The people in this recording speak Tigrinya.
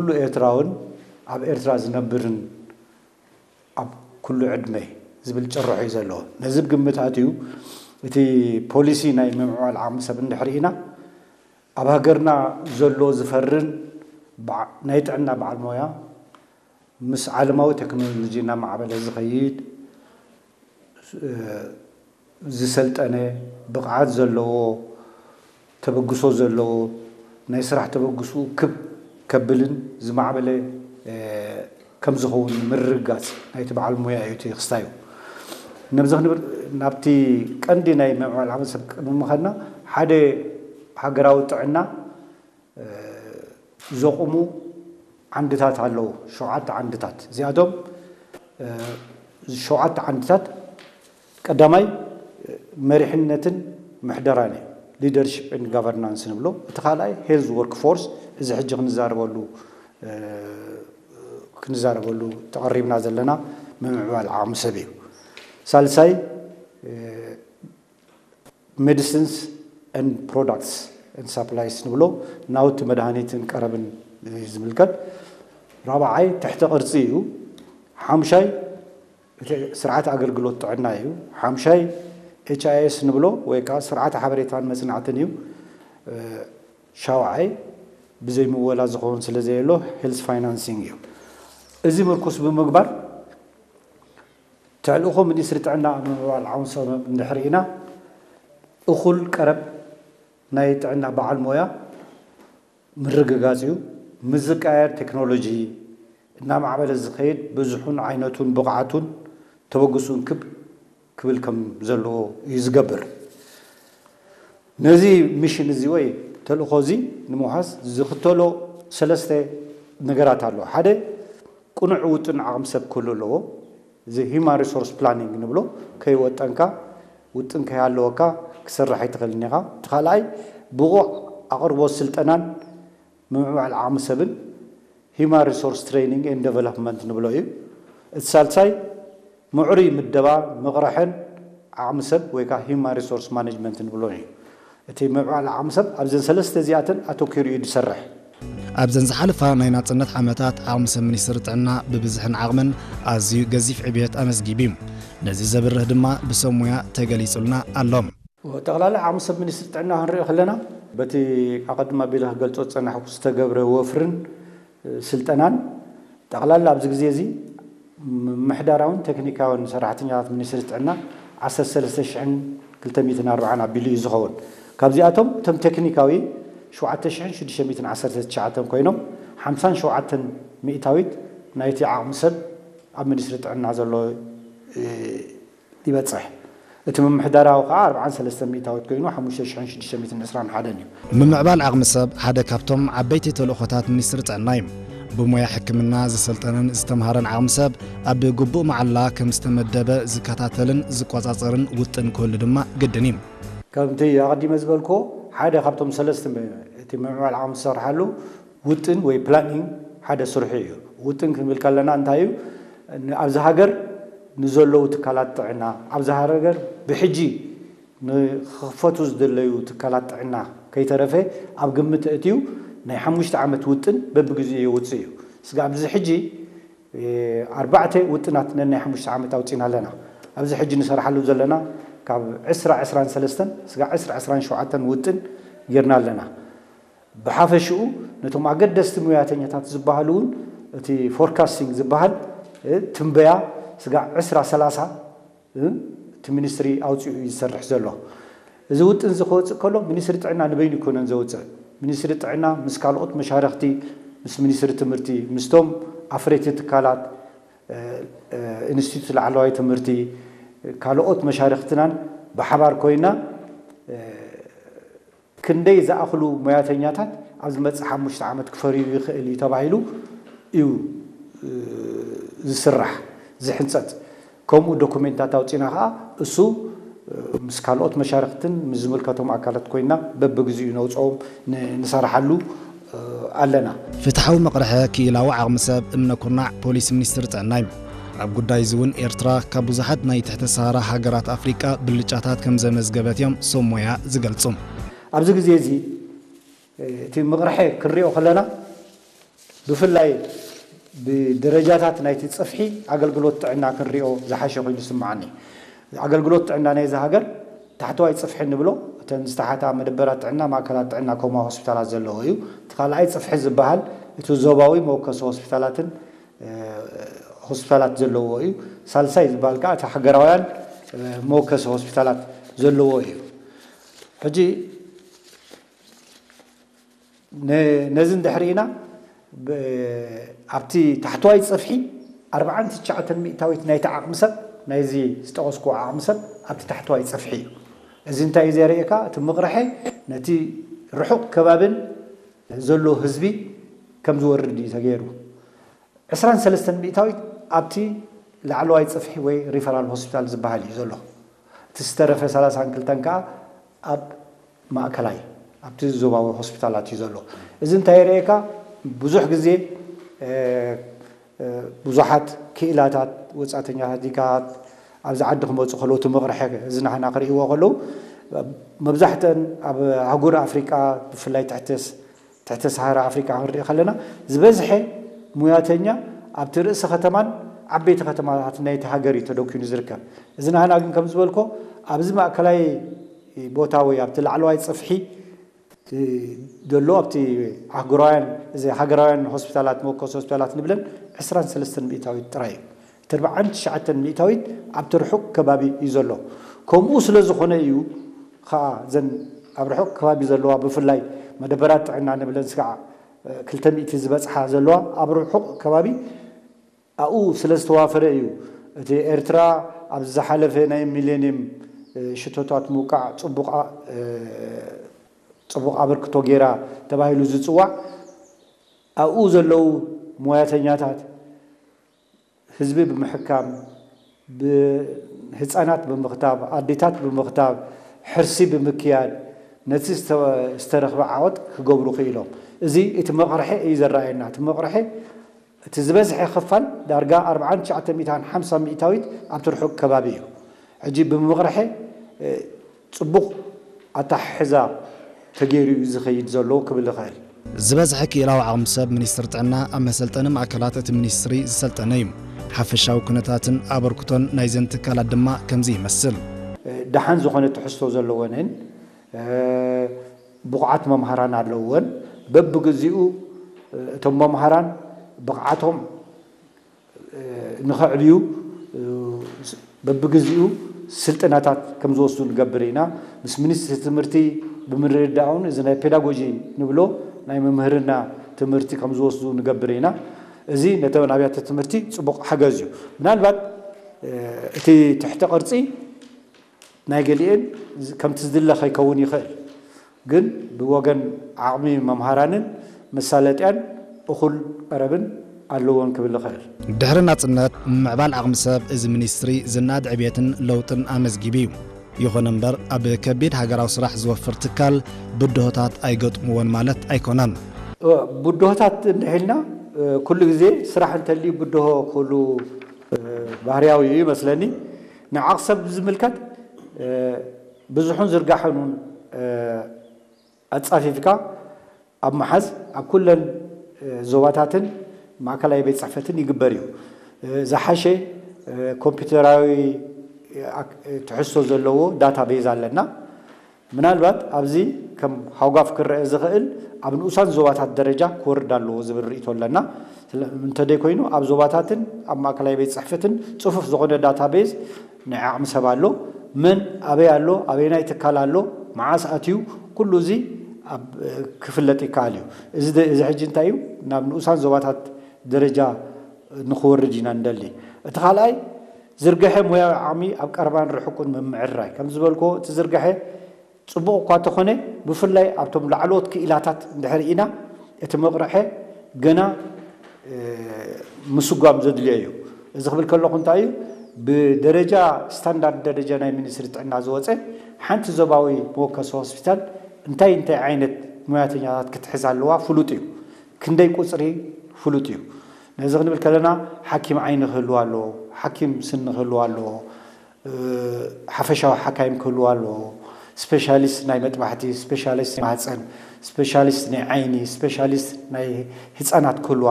ኩሉ ኤርትራውን ኣብ ኤርትራ ዝነብርን ኣብ ኩሉ ዕድመ ዝብል ጭርሖ እዩ ዘለዎ። ነዚ ብግምት ኣትዩ እቲ ፖሊሲ ናይ ምምዕባል ዓቕሚ ሰብ እንድሕር ኢና፣ ኣብ ሃገርና ዘሎ ዝፈርን በዓ-፣ ናይ ጥዕና በዓል ሞያ ምስ ዓለማዊ ቴክኖሎጂ እናማዕበለ ዝኸይድ፣ ዝሰልጠነ፣ ብቕዓት ዘለዎ፣ ተበግሶ ዘለዎ፣ ናይ ስራሕ ተበግስኡ ክብ ከብልን ዝማዕበለ፣ እ፣ ከም ዝኸውን ምርግጋጽ ናይቲ በዓል ሞያ እዩ እቲ ክስታዩ። ነብዚ ክንብል፣ ናብቲ ቀንዲ ናይ ምምዕባል ዓቕሚ ሰብ ቅድሚ ምኻድና፣ ሓደ ሃገራዊ ጥዕና፣ እ፣ ዘቑሙ ዓንድታት ኣለዉ። ሸውዓተ ዓንድታት። እዚኣቶም፣ እ፣ ሸውዓተ ዓንድታት፣ ቀዳማይ፣ እ፣ መሪሕነትን ምሕደራን እዩ። Leadership and Governance ንብሎ። እቲ ካልኣይ፣ Health Workforce፣ እዚ ሕጂ ክንዛረበሉ፣ እ፣ ክንዛረበሉ ተቐሪብና ዘለና ምምዕባል ዓቕሚ ሰብ እዩ። ሳልሳይ፣ እ፣ Medicines and Products and Supplies ንብሎ፣ ናውቲ መድሃኒትን ቀረብን እዩ ዝምልከት። ራብዓይ፣ ትሕተ ቅርጺ እዩ። ሓምሻይ፣ እቲ ስርዓት ኣገልግሎት ጥዕና እዩ። ሓምሻይ፣ ኤች ኣይ ኤስ ንብሎ ወይ ከዓ ስርዓት ሓበሬታን መጽናዕትን እዩ። እ፣ ሻውዓይ፣ ብዘይ ምወላ ዝኸውን ስለ ዘየሎ፣ ሄልዝ ፋይናንሲንግ እዩ። እዚ ምርኩስ ብምግባር፣ ተልእኾ ሚኒስትሪ ጥዕና ኣብ ምምዕባል ዓቕሚ ሰብ እንድሕር ኢና፣ እኹል ቀረብ ናይ ጥዕና በዓል ሞያ ምርግጋጽ እዩ። ምስ ዝቀያየር ቴክኖሎጂ እናማዕበለ ዝኸይድ፣ ብዝሑን ዓይነቱን ብቕዓቱን ተበግሱን ክብ ክብል ከም ዘለዎ እዩ ዝገብር። ነዚ ሚሽን እዚ ወይ ተልእኾ እዚ ንምውሓስ ዝኽተሎ ሰለስተ ነገራት ኣሎ። ሓደ፣ ቅኑዕ ውጥን ዓቕሚ ሰብ ክህሉ ኣለዎ። እዚ ሂማን ሪሶርስ ፕላኒንግ ንብሎ፣ ከይወጠንካ፣ ውጥን ከይሃለወካ ክሰርሕ ኣይትኽእልን ኢኻ። እቲ ካልኣይ፣ ብቑዕ ኣቕርቦት ስልጠናን ምምዕባል ዓቕሚ ሰብን ሂማን ሪሶርስ ትሬኒንግ ኤንድ ዴቨሎፕመንት ንብሎ እዩ። እቲ ሳልሳይ፣ ምዕሩይ ምደባ፣ ምቕርሕን ዓቕሚ ሰብ ወይ ከዓ ሂማን ሪሶርስ ማኔጅመንት ንብሎ እዩ። እቲ ምምዕባል ዓቕሚ ሰብ ኣብዘን ሰለስተ እዚኣተን ኣተኲሩ እዩ ዝሰርሕ። ኣብዘን ዝሓለፋ ናይ ናጽነት ዓመታት፣ ዓቕሚ ሰብ ሚኒስትሪ ጥዕና ብብዝሕን ዓቕምን ኣዝዩ ገዚፍ ዕብየት ኣመዝጊቡ እዩ። ነዚ ዘብርህ ድማ ብሰብ ሞያ ተገሊጹልና ኣሎ። ጠቕላላ ዓቕሚ ሰብ ሚኒስትሪ ጥዕና ክንሪኦ ከለና፣ በቲ ኣቐድም ኣቢለ ክገልጾ ዝጸናሕኩ ዝተገብረ ወፍርን ስልጠናን፣ ጠቕላላ ኣብዚ ግዜ እዚ ምምሕዳራውን ቴክኒካውን ሰራሕተኛታት ሚኒስትሪ ጥዕና ዓሰርተ ሰለስተ ሽሕን ክልተ ሚእትን ኣርባዓን ኣቢሉ እዩ ዝኸውን። ካብዚኣቶም እቶም ቴክኒካዊ ሸውዓተ ሽሕን ሽዱሽተ ሚእትን ዓሰርተ ትሽዓተን ኮይኖም፣ ሓምሳን ሸውዓተን ሚእታዊት ናይቲ ዓቕሚ ሰብ ኣብ ሚኒስትሪ ጥዕና ዘሎ፣ እ፣ ይበጽሕ። እቲ ምምሕዳራዊ ከኣ ኣርብዓን ሰለስተን ሚእታዊት ኮይኑ፣ ሓሙሽተ ሽሕን ሽዱሽተ ሚእትን ዕስራን ሓደን እዩ። ምምዕባል ዓቕሚ ሰብ ሓደ ካብቶም ዓበይቲ ተልእኾታት ሚኒስትሪ ጥዕና እዩ። ብሞያ ሕክምና ዝሰልጠነን ዝተምሃረን ዓቕሚ ሰብ ኣብ ግቡእ መዓላ ከም ዝተመደበ ዝከታተልን ዝቆጻጸርን ውጥን ክህሉ ድማ ግድን እዩ። ከምቲ ኣቐዲመ ዝበልክዎ፣ ሓደ ካብቶም ሰለስተ ም-፣ እቲ ምምዕባል ዓቕሚ ዝሰርሓሉ ውጥን ወይ ፕላኒንግ ሓደ ስርሑ እዩ። ውጥን ክንብል ከለና እንታይ እዩ? ን-፣ ኣብዚ ሃገር ንዘለዉ ትካላት ጥዕና፣ ኣብዚ ሃገር ብሕጂ ንክኽፈቱ ዝደለዩ ትካላት ጥዕና ከይተረፈ ኣብ ግምት ኣእትዩ ናይ ሓሙሽተ ዓመት ውጥን በብግዜኡ የውፅእ እዩ። ስጋዕ ኣብዚ ሕጂ፣ እ፣ ኣርባዕተ ውጥናት ነናይ ሓሙሽተ ዓመት ኣውፂና ኣለና። ኣብዚ ሕጂ ንሰርሓሉ ዘለና ካብ ዕስራ ዕስራን ሰለስተን ስጋዕ ዕስራ ዕስራን ሸውዓተን ውጥን ጌርና ኣለና። ብሓፈሽኡ ነቶም ኣገደስቲ ሙያተኛታት ዝበሃሉ እውን እቲ ፎርካስቲንግ ዝበሃል፣ እ፣ ትንበያ ስጋዕ ዕስራ ሰላሳ፣ እ፣ እቲ ሚኒስትሪ ኣውፂኡ እዩ ዝሰርሕ ዘሎ። እዚ ውጥን እዚ ክወፅእ ከሎ ሚኒስትሪ ጥዕና ንበይኑ ኣይኮነን ዘውፅእ። ሚኒስትሪ ጥዕና ምስ ካልኦት መሻርኽቲ፣ ምስ ሚኒስትሪ ትምህርቲ፣ ምስቶም ኣፍረይቲ ትካላት፣ እ፣ እ፣ ኢንስቲትዩት ላዕለዋይ ትምህርቲ፣ ካልኦት መሻርኽትናን ብሓባር ኮይና፣ እ፣ ክንደይ ዝኣኽሉ ሞያተኛታት ኣብ ዝመጽእ ሓሙሽተ ዓመት ክፈርዩ ይኽእል እዩ ተባሂሉ እዩ፣ እ፣ ዝስራሕ፣ ዝሕንጸጽ። ከምኡ ዶኩሜንታት ኣውጺና ከኣ እሱ፣ እ፣ ምስ ካልኦት መሻርኽትን ምስ ዝምልከቶም ኣካላት ኮይና በብግዚኡ ነውጽኦም ን-፣ ንሰርሓሉ፣ እ፣ ኣለና። ፍትሓዊ መቕርሒ ክኢላዊ ዓቕሚ ሰብ እምነ ኩርናዕ ፖሊሲ ሚኒስትሪ ጥዕና እዩ። ኣብ ጉዳይ እዚ እውን ኤርትራ ካብ ብዙሓት ናይ ትሕተ ሰሃራ ሃገራት ኣፍሪቃ ብልጫታት ከም ዘመዝገበት እዮም ሰብ ሞያ ዝገልጹ። ኣብዚ ግዜ እዚ እቲ ምቕርሐ ክንሪኦ ከለና፣ ብፍላይ ብደረጃታት ናይቲ ጽፍሒ ኣገልግሎት ጥዕና ክንሪኦ ዝሓሸ ኮይኑ ይስምዓኒ። ኣገልግሎት ጥዕና ናይዚ ሃገር ታሕተዋይ ጽፍሒ እንብሎ፣ እተን ዝተሓታ መደበራት ጥዕና፣ ማእከላት ጥዕና ከምኡ ሆስፒታላት ዘለዎ እዩ። እቲ ካልኣይ ጽፍሒ ዝበሃል እቲ ዞባዊ መወከሲ ሆስፒታላትን ሆስፒታላት ዘለዎ እዩ። ሳልሳይ ዝበሃል ከዓ እቲ ሃገራውያን መወከሲ ሆስፒታላት ዘለዎ እዩ። ሕጂ ነዚ እንድሕር ኢና፣ ኣብቲ ታሕተዋይ ፅፍሒ ኣርባዓን ትሽዓተን ሚእታዊት ናይቲ ዓቕሚ ሰብ፣ ናይዚ ዝጠቐስኩ ዓቕሚ ሰብ ኣብቲ ታሕተዋይ ፅፍሒ እዩ። እዚ እንታይ እዩ ዘርእየካ? እቲ ምቕርሐ ነቲ ርሑቕ ከባብን ዘሎ ህዝቢ ከም ዝወርድ እዩ ተገይሩ። ዕስራን ሰለስተን ሚእታዊት ኣብቲ ላዕለዋይ ፅፍሒ ወይ ሪፈራል ሆስፒታል ዝበሃል እዩ ዘሎ። እቲ ዝተረፈ ሰላሳን ክልተን ከዓ ኣብ ማእከላይ ኣብቲ ዞባዊ ሆስፒታላት እዩ ዘሎ። እዚ እንታይ የርእየካ? ብዙሕ ግዜ ብዙሓት ክኢላታት፣ ወፃእተኛታት ዲጋት ኣብዚ ዓዲ ክመፁ ከለዉ እቲ ምቕርሐ እዚ ናህና ክርእይዎ ከለዉ፣ መብዛሕተን ኣብ ኣህጉር ኣፍሪቃ፣ ብፍላይ ትሕቲ ትሕቲ ሰሃራ ኣፍሪቃ ክንርኢ ከለና፣ ዝበዝሐ ሙያተኛ ኣብቲ ርእሲ ከተማን ዓበይቲ ከተማታት ናይቲ ሃገር እዩ ተደኪኑ ዝርከብ። እዚ ናህና ግን ከም ዝበልኮ ኣብዚ ማእከላይ ቦታ ወይ ኣብቲ ላዕለዋይ ጽፍሒ ዘሎ ኣብቲ ኣህጉራውያን፣ እዚ ሃገራውያን ሆስፒታላት፣ መወከሲ ሆስፒታላት ንብለን ዕስራን ሰለስተን ሚእታዊት ጥራይ እዩ። እቲ ኣርባዓን ትሽዓተን ሚእታዊት ኣብቲ ርሑቕ ከባቢ እዩ ዘሎ። ከምኡ ስለ ዝኾነ እዩ ኸዓ እዘን ኣብ ርሑቕ ከባቢ ዘለዋ፣ ብፍላይ መደበራት ጥዕና ንብለን ስጋዕ ክልተ ሚእቲ ዝበጽሓ ዘለዋ ኣብ ርሑቕ ከባቢ ኣብኡ ስለ ዝተዋፈረ እዩ። እቲ ኤርትራ ኣብ ዝሓለፈ ናይ ሚሌኒየም ሽቶታት ምውቃዕ ጽቡቕ ኣ-፣ ጽቡቕ ኣበርክቶ ገይራ ተባሂሉ ዝጽዋዕ፣ ኣብኡ ዘለዉ ሞያተኛታት ህዝቢ ብምሕካም፣ ብ-፣ ህጻናት ብምኽታብ፣ ኣዴታት ብምኽታብ፣ ሕርሲ ብምክያድ፣ ነቲ ዝተ-፣ ዝተረኽበ ዓወት ክገብሩ ክኢሎም። እዚ እቲ መቕርሒ እዩ ዘረኣየና። እቲ መቕርሒ፣ እቲ ዝበዝሐ ክፋል፣ ዳርጋ ኣርባዓን ትሽዓተ ሚእታን ሓምሳ ሚእታዊት ኣብቲ ርሑቕ ከባቢ እዩ። ሕጂ ብምቕርሒ፣ እ፣ ጽቡቕ ኣተሓሕዛ ተገይሩ እዩ ዝኸይድ ዘሎ ክብል እኽእል። ዝበዝሐ ክኢላዊ ዓቕሚ ሰብ ሚኒስትሪ ጥዕና ኣብ መሰልጠኒ ማእከላት እቲ ሚኒስትሪ ዝሰልጠነ እዩ። ሓፈሻዊ ኩነታትን ኣበርክቶን ናይዘን ትካላት ድማ ከምዚ ይመስል። ደሓን ዝኾነ ትሕዝቶ ዘለወንን፣ እ፣ ብቑዓት መምሃራን ኣለውወን። በብግዚኡ፣ እ፣ እቶም መምሃራን ብቕዓቶም ንኸዕብዩ በብግዚኡ ስልጠናታት ከም ዝወስዱ ንገብር ኢና። ምስ ሚኒስትሪ ትምህርቲ ብምርድዳእን እዚ ናይ ፔዳጎጂ ንብሎ ናይ መምህርና ትምህርቲ ከም ዝወስዱ ንገብር ኢና። እዚ ነተን ኣብያተ ትምህርቲ ጽቡቕ ሓገዝ እዩ። ምናልባት እቲ ትሕተ ቅርጺ ናይ ገሊኤን ከምቲ ዝድለ ከይከውን ይኽእል፣ ግን ብወገን ዓቕሚ መምሃራንን መሳለጥያን እኹል ቀረብን ኣለዎን ክብል እኽእል። ድሕሪ ናጽነት፣ ምምዕባል ዓቕሚ ሰብ እዚ ሚኒስትሪ ዝነኣድ ዕብየትን ለውጥን ኣመዝጊቡ እዩ። ይኹን እምበር፣ ኣብ ከቢድ ሃገራዊ ስራሕ ዝወፍር ትካል ብድሆታት ኣይገጥምዎን ማለት ኣይኮነን። እወ፣ ብድሆታት እንድሕልና፣ ኩሉ ግዜ ስራሕ እንተልዩ ብድሆ ክህሉ፣ እ፣ ባህርያዊ እዩ ይመስለኒ። ንዓቕሚ ሰብ ብዝምልከት፣ እ፣ ብዝሑን ዝርጋሐኑን፣ እ፣ ኣጻፊፍካ ኣብ ምሓዝ ኣብ ኩለን፣ እ፣ ዞባታትን ማእከላይ ቤት ጽሕፈትን ይግበር እዩ። እ፣ ዝሓሸ፣ እ፣ ኮምፒውተራዊ፣ እ፣ ኣክ-፣ እ፣ ትሕዝቶ ዘለዎ ዳታቤዝ ኣለና። ምናልባት ኣብዚ ከም ሃውጋፍ ክረአ ዝኽእል ኣብ ንኡሳን ዞባታት ደረጃ ክወርድ ኣለዎ ዝብል ርእይቶ ኣለና። ስለ-፣ እንተደይኮይኑ ኣብ ዞባታትን ኣብ ማእከላይ ቤት ጽሕፈትን ጽፉፍ ዝኾነ ዳታቤዝ ናይ ዓቕሚ ሰብ ኣሎ። መን ኣበይ ኣሎ፣ ኣበየናይ ትካል ኣሎ፣ መዓስ ኣትዩ፣ ኩሉ እዚ ኣብ፣ ክፍለጥ ይከኣል እዩ። እዚ ደ-፣ እዚ ሕጂ እንታይ እዩ? ናብ ንኡሳን ዞባታት ደረጃ ንኽወርድ ኢና ንደሊ። እቲ ካልኣይ፣ ዝርግሐ ሞያዊ ዓቕሚ ኣብ ቀረባን ርሑቕን ምምዕርራይ። ከም ዝበልክዎ፣ እቲ ዝርግሐ ጽቡቕ እኳ እንተኾነ፣ ብፍላይ ኣብቶም ላዕለዎት ክኢላታት እንድሕር ኢና፣ እቲ መቕርሐ ገና፣ እ፣ ምስጓም ዘድልዮ እዩ። እዚ ክብል ከለኹ እንታይ እዩ? ብደረጃ፣ ስታንዳርድ ደረጃ ናይ ሚኒስትሪ ጥዕና ዝወፀ፣ ሓንቲ ዞባዊ መወከሲ ሆስፒታል እንታይ እንታይ ዓይነት ሙያተኛታት ክትሕዝ ኣለዋ ፍሉጥ እዩ። ክንደይ ቁፅሪ ፍሉጥ እዩ። ነዚ ክንብል ከለና፣ ሓኪም ዓይኒ ክህልዎ ኣለዎ፣ ሓኪም ስኒ ክህልዎ ኣለዎ፣ እ፣ ሓፈሻዊ ሓካይም ክህልዎ ኣለዎ፣ ስፔሻሊስት ናይ መጥባሕቲ፣ ስፔሻሊስት ናይ ማህፀን፣ ስፔሻሊስት ናይ ዓይኒ፣ ስፔሻሊስት ናይ ህፃናት ክህልዎ